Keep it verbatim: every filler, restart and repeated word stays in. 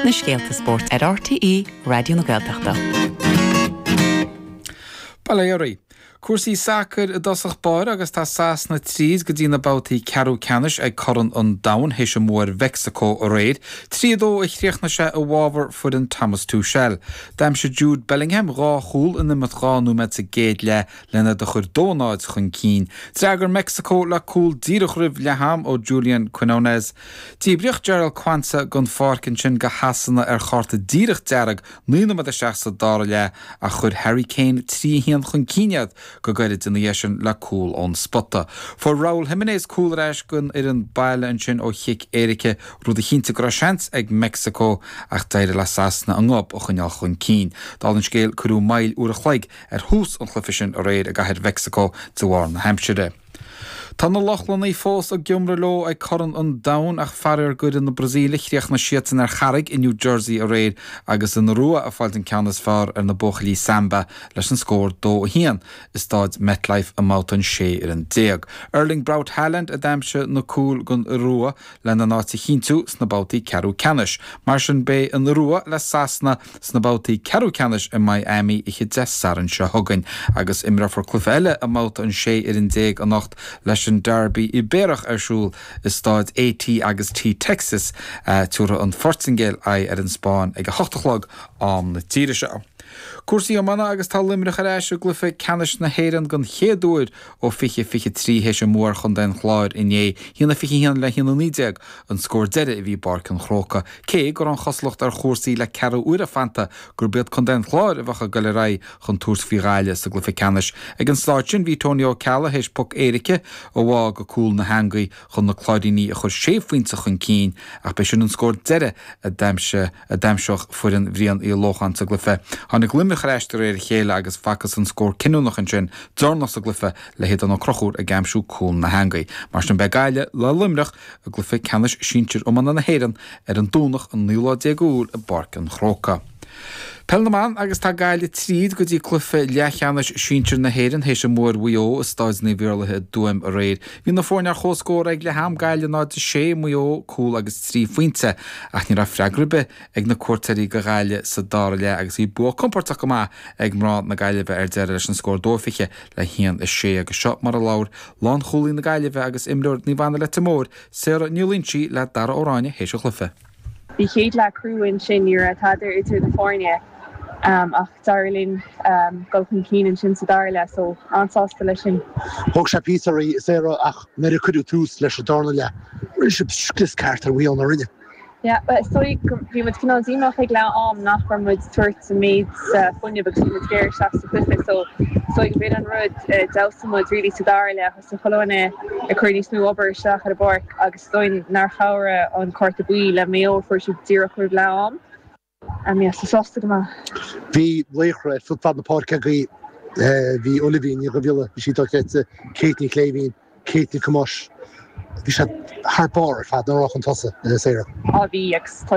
Na scéalta spóirt ar RTÉ Raidió na Gaeltachta. Baléirí. Cúrsaí sacair i dtosach báire agus tá Sasana tríd go dtí na babhtaí ceathrú ceannais ag Corn an Domhain théis a mbua ar Mheicsiceo aréir, trí a dó a chríochnaigh sé i bhfabhar foireann Thomas Tuchel. D'aimsigh Jude Bellingham dhá chúl in imeacht dhá nóiméad sa gcéad leath lena do chur dó náid chun cinn. D'fhreagair Meicsiceo le cúl díreach roimh leath-am ó Julian Quinones. Díbríodh Jarell Quansah den pháirc ansin do Shasana ar chárta díreach dearg naoi nóiméad isteach sa dara leath ach chuir Harry Kane trí a haon chun cinn iad go gairid ina dhiaidh sin le cúl ón spota. Fuair Raúl Jiménez cúl ar ais don fhoireann baile ansin ó chic éirice rud a chinntigh go raibh seans ag Meicsiceo ach d'éirigh le Sasana an gob a choinneáil chun cinn. Dála an scéil cuireadh moill uair a chloig ar thús an chluiche sin aréir i gcathair Mheicsiceo de bharr na haimsire. Tá na Lochlannaigh fós ag iomramh leo ag Corn an Domhain ach faraor d'fhoireann na Brasaíle chríochnaigh siadsan ar charraig i New Jersey aréir agus an Iorua ag fáilt an ceann is fearr ar na buachaillí Samba leis an scór dó a haon i staid MetLife i mbabhta an sé fhoireann déag. Erling Braut Haaland a d'aimsigh na cúil don Iorua lena n-áit a chinntiú sna babhtaí ceathrú ceannais. Mar sin beidh an Iorua le Sasana sna babhtaí ceathrú ceannais i Miami oíche Dé Sathairn seo chugainn agus imreofar cluiche eile i mbabhta an sé fhoireann déag anocht leis an Derby Ibéarach ar siúl i staid AT agus T Texas tabharfaidh an Phortaingéil aghaidh ar an Spáinn ag a hocht a chlog am na tíre seo. Cúrsaí iomána agus tá Luimneach ar ais i gcluiche ceannais na hÉireann den chéad uair ó fiche fiche trí théis a mbua ar Chontae an Chláir inné haon a fiche haon le haon a naoi déag an scór deiridh a bhí i bPáirc an Chrócaigh, cé go raibh an chosúlacht ar chúrsaí le ceathrú uaire fanta gurb iad Contae an Chláir a bheadh ag dul ar aghaidh chun tabhairt faoi Ghaillimh sa gcluiche ceannais. Ag an staid sin bhí Tony Ó Ceallaigh théis poc éirice a bhá go cúl na heangaí chun na Cláirínigh a chur sé phointe chun cinn ach b'é sin an scór deiridh a d'aimsigh a d'aimseodh foireann Bhriain Uí Lócháin sa gcluiche. Tháinig Luimneach ar ais de réir a chéile agus facthas an scór cinniúnach ansin deireanach sa gcluiche le hAodán Ó Conchúir ag aimsiú cúl na heangaí. Mar sin beidh Gaillimh le Luimneach i gcluiche ceannais sinsir iomána na hÉireann ar an Domhnach an naoú lá déag Iúil i bPáirc an Chrócaigh. Peil na mban agus tá Gaillimh tríd go dtí cluiche leathcheannais sinsir na hÉireann théis a mbua ar Mhaigh Eo i Staid Naomh Iarlaithe i dTuaim aréir. Bhí na foirne ar comhscór ag leath-am Gaillimh náid a sé Maigh Eo cúl agus trí phointe ach ní raibh freagra ar bith ag na cuairteoirí do Ghaillimh sa dara leath agus bhí bua compordach go maith ag mná na Gaillimhe ar deireadh leis an scór dó fiche le haon a sé agus seo mar a labhair lánchúlaí na Gaillimhe agus imreoir Naomh Anna Leitir Móir Sarah Ní Loingsigh le Dara Ó Ráinne théis an chluiche. Bhí chéad leath crua ansin ní raibh tada idir na foirne um, ach d'éirigh linn um, dul chun cinn ansin sa dara leath so an-sásta leis sin. Thóg sé píosa Sarah ach nuair a cuireadh tús leis an darna leath. Rinne sibh scrios ceart ar Mhaigh Eo rinne. Yeah, so bhí muid cineál díomách ag leath am nach raibh muid tabhairt an méid fuinnimh agus muid géar isteach sa chluiche so so go bhí an rud d'fheabhsaigh muid really sa dara leath sa cholóine ag cur níos mó obair isteach ar an bpáirc agus dóin nár chabhraigh an cárta buí le Maigh Eo fuair siad díreach roimh leath am. Um, yeah, so sásta go maith. Bhí laochra ar fud fad na páirce agaibh bhí Olivia Ní Bhile bhí sí dochreidte Kate Ní Chléibhín, Kate Ní Camuis. Bhí sé thar barr ar fad na rá chun tosaigh Sarah. Á bhí agus tá